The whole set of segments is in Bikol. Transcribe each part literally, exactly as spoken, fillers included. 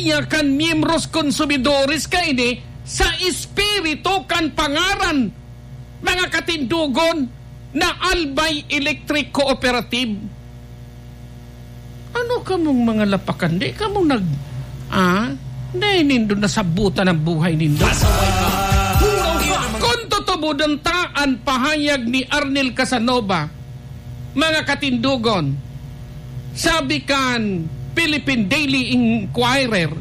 niya kan miyembros konsumidores kaini sa espiritu kan pangaran, mga katindogon, na Albay Electric Cooperative. Ano kamong mga lapakan? Di kamo nag-, ah? Dai nindo nasabutan ang buhay nindo? Pasaway ka! Puraw ka! Kung tutubodan ta an pahayag ni Arnel Casanova, mga katindogon, sabi kan Philippine Daily Inquirer,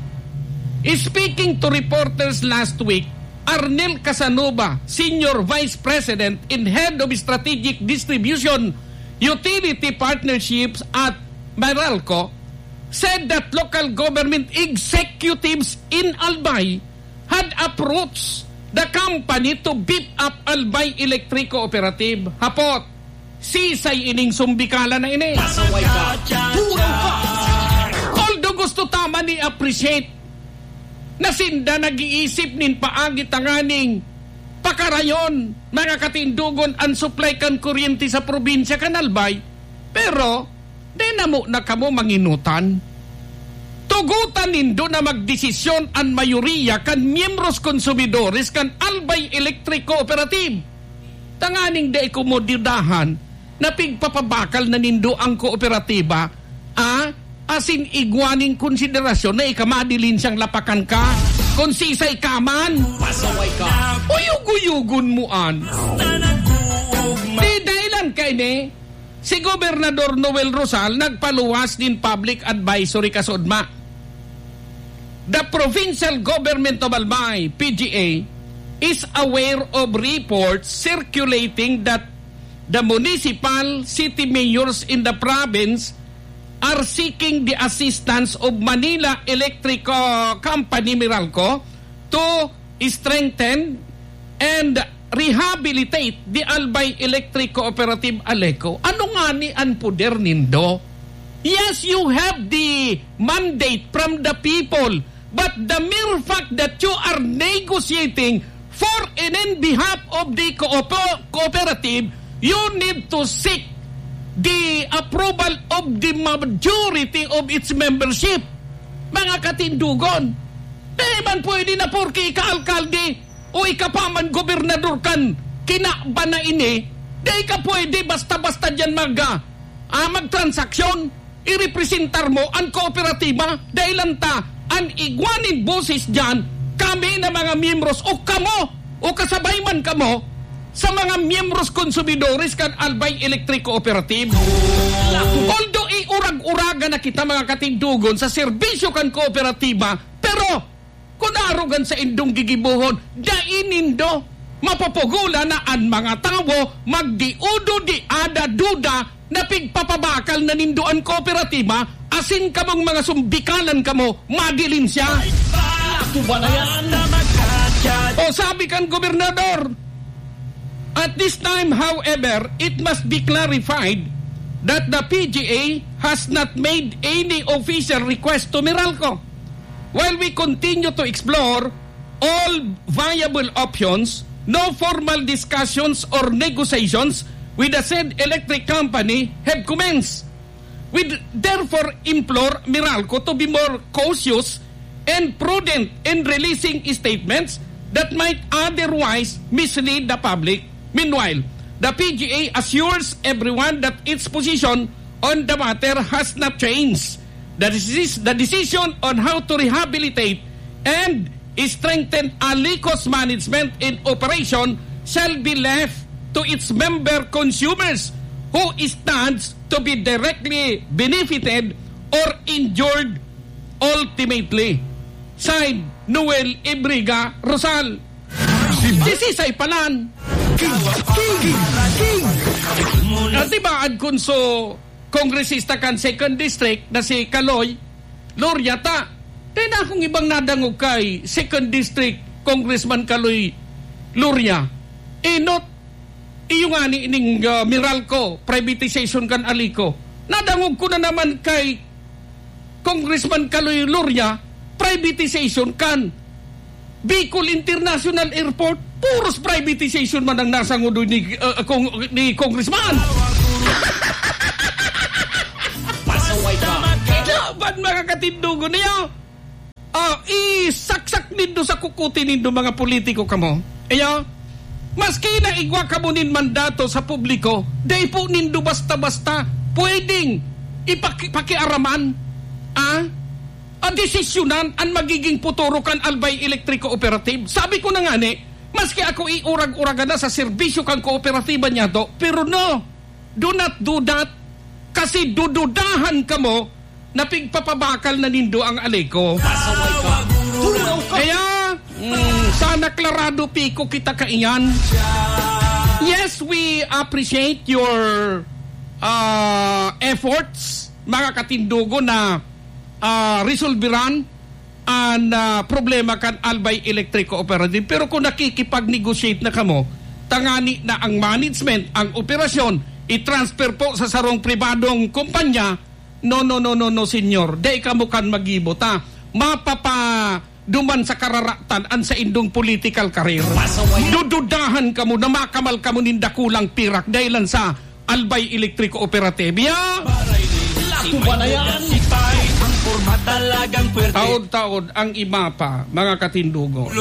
speaking to reporters last week, Arnel Casanova, Senior Vice President and Head of Strategic Distribution Utility Partnerships at Meralco, said that local government executives in Albay had approached the company to beef up Albay Electric Cooperative. Hapot, sisay ining sumbikalan na ini? Pasaway ka! Puraw ka! Although gusto ta man i-appreciate na sinda nag-iisip nin paagi tanganing pakarayon, mga katindogon, an supply kan kuryente sa probinsya kan Albay, pero di na mo na kamo manginutan. Tugotan nindo na magdesisyon an mayoriya kan miyembros konsumidores kan Albay Electric Cooperative, tanganing dai komodidad na pigpapabakal na nindo an kooperatiba, ah, asin igwa nin konsiderasyon na ika madilinsyang lapakan ka, kung sisay ka man. Pasaway ka. Uyog-uyogon mo an. Di dahilan kaini, si Gobernador Noel Rosal nagpaluwas nin public advisory kasudma. The provincial government of Albay, P G A, is aware of reports circulating that the municipal city mayors in the province are seeking the assistance of Manila Electric, uh, Company, Meralco, to strengthen and rehabilitate the Albay Electric Cooperative, ALECO. Ano ngani an poder nindo? Yes, you have the mandate from the people, but the mere fact that you are negotiating for and in behalf of the cooper-, cooperative, you need to seek the approval of the majority of its membership. Mga katindugon, di man pwede na porke ika-alkalde o ika pa man gobernador kan kinaban na ini, di ka pwede basta-basta diyan mag, ah, ah, magtransaksyon. Irepresentar mo an kooperatiba, dahilan ta an igwa nin boses diyan, kami na mga miyembros o kamo o kasabay man kamo sa mga miyembros konsumidores kan Albay Electric Cooperative. Although iurag-uraga na kita, mga katindugon, sa serbisyo kan kooperatiba, pero kun arog an saindong gigibohon, dai nindo mapupugolan na an mga tawo magdiudo di ada duda na pigpapabakal na nindo an kooperatiba, asin kamong mga sumbikalan kamo, madilin siya. Tuba na yan. O sabi kan gobernador, at this time, however, it must be clarified that the P G A has not made any official request to Meralco. While we continue to explore all viable options, no formal discussions or negotiations with the said electric company have commenced. We therefore implore Meralco to be more cautious and prudent in releasing statements that might otherwise mislead the public. Meanwhile, the P G A assures everyone that its position on the matter has not changed. The decis-, the decision on how to rehabilitate and strengthen ALECO's management and operation shall be left to its member consumers who stands to be directly benefited or injured ultimately. Signed, Noel Ibriga Rosal. Si Ma- Si Sisay Palan. King, king, king. At diba, Adconso, kongresista kan Second District na si Kaloy Loria ta. Dai na akong ibang nadangog kay Second District Congressman Kaloy Loria. Enot, iyo ngani ning, ah, Meralco, privatization kan ALECO. Nadangog ko na naman kay Congressman Kaloy Loria, privatization kan Bicol International Airport, puros privatization man ang nasangod ni, uh, kong-, ni Congressman. Pasaway ka. Laban, mga katindugon niya. nindo sa kukuti nindo, mga politiko kamo. Iyo, maski na igwa kamo nin mandato sa publiko, dai po nindo basta-basta pwedeng ipaki-, pakiaraman, ah, a desisyonan an magiging futuro kan Albay Electric Cooperative. Sabi ko na ngani, maski ako iurag-uragan na sa serbisyo kan kooperatiba niyato, pero no, do not do that, kasi dududahan kamo na pigpapabakal na nindo ang Aleco. Pasaway ka. Tulaw ka. Kaya, mm, sana klarado piko kita kaiyan. Yes, we appreciate your, ah, efforts, mga katindogo, na, ah, resolveran an, ah, problema kan Albay Electric Cooperative. Pero kung nakikipag-negotiate na kamo, tangani na ang management, ang operasyon, i-transfer po sa sarong pribadong kumpanya, no, no, no, no, no, senyor. Dai kamo kan maggibo ta. Mapapaduman sa kararatan an saindong political career. Pasaway. Dududahan kamo na makamal kamo nin dakulang pirak dahil lang sa Albay Electric Cooperative. Ya! Lato ba na yan? Taod-taod ang iba pa, mga katindugo.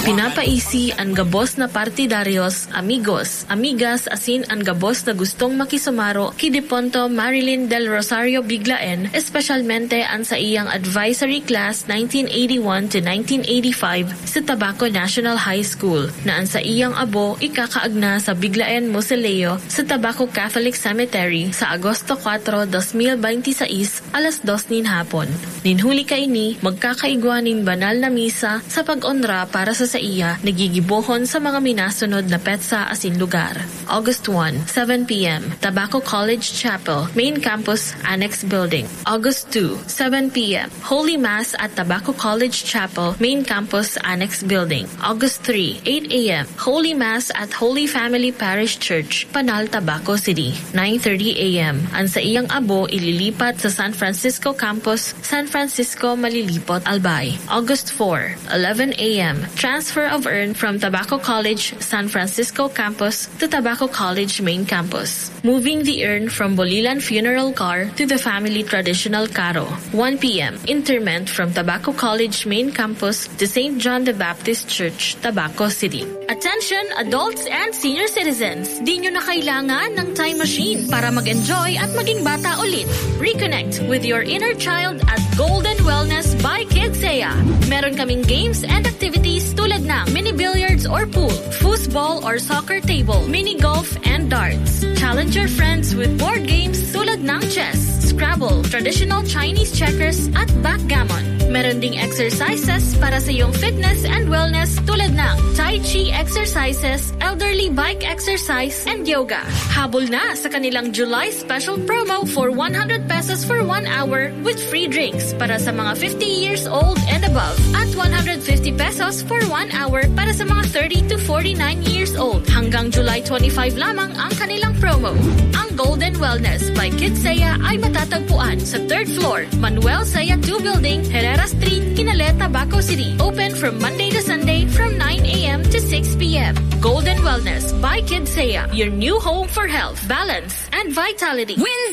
Pinapaisi an gabos na partidaryos, amigos, amigas, asin an gabos na gustong makisumaro ki Deponto Marilyn Del Rosario Biglaen, espesyalmente an saiyang advisory class nineteen eighty-one to nineteen eighty-five sa Tabaco National High School, na an saiyang abo ikakaagna sa Biglaen Mausoleo sa Tabaco Catholic Cemetery sa Agosto kwatro, dos mil benti sais, alas dos nin hapon. Nin huli kaini, magkakaigwa nin banal na misa sa pag-onra para sa saiya na gigibohon sa mga minasunod na petsa asin lugar. August one, seven p m, Tabaco College Chapel, Main Campus, Annex Building. August two, seven p m, Holy Mass at Tabaco College Chapel, Main Campus, Annex Building. August three, eight a m, Holy Mass at Holy Family Parish Church, Panal, Tabaco City. Nine thirty a m, an saiyang abo ililipat sa San Francisco Campus, San Francisco, Malilipot, Albay. August four, eleven a m, transfer of urn from Tabaco College, San Francisco Campus, to Tabaco College Main Campus, moving the urn from Bolilan Funeral Car to the family traditional carro. One p m, interment from Tabaco College Main Campus to Saint John the Baptist Church, Tabaco City. Attention, adults and senior citizens! Di nyo na kailangan ng time machine para mag-enjoy at maging bata ulit. Reconnect with your inner child at Golden Wellness by Kidsea. Meron kaming games and activities tulad ng mini billiards or pool, foosball or soccer table, mini golf and darts. Challenge your friends with board games tulad ng chess, Scrabble, traditional Chinese checkers at backgammon. Meron ding exercises para sa iyong fitness and wellness tulad ng Tai Chi exercises, elderly bike exercise, and yoga. Habol na sa kanilang July special promo for one hundred pesos for one hour with free drinks para sa mga fifty years old and above at one hundred fifty pesos for one hour para sa mga thirty to forty-nine years old. Hanggang July twenty-five lamang ang kanilang promo. Ang Golden Wellness by Kidsea ay matatagpuan sa third floor, Manuel Saya two Building, Herrera Street, Kinaleta, Tabaco City. Open from Monday to Sunday from nine a m to six p m. Golden Wellness by Kidsea, your new home for health, balance, and vitality. Wednesday!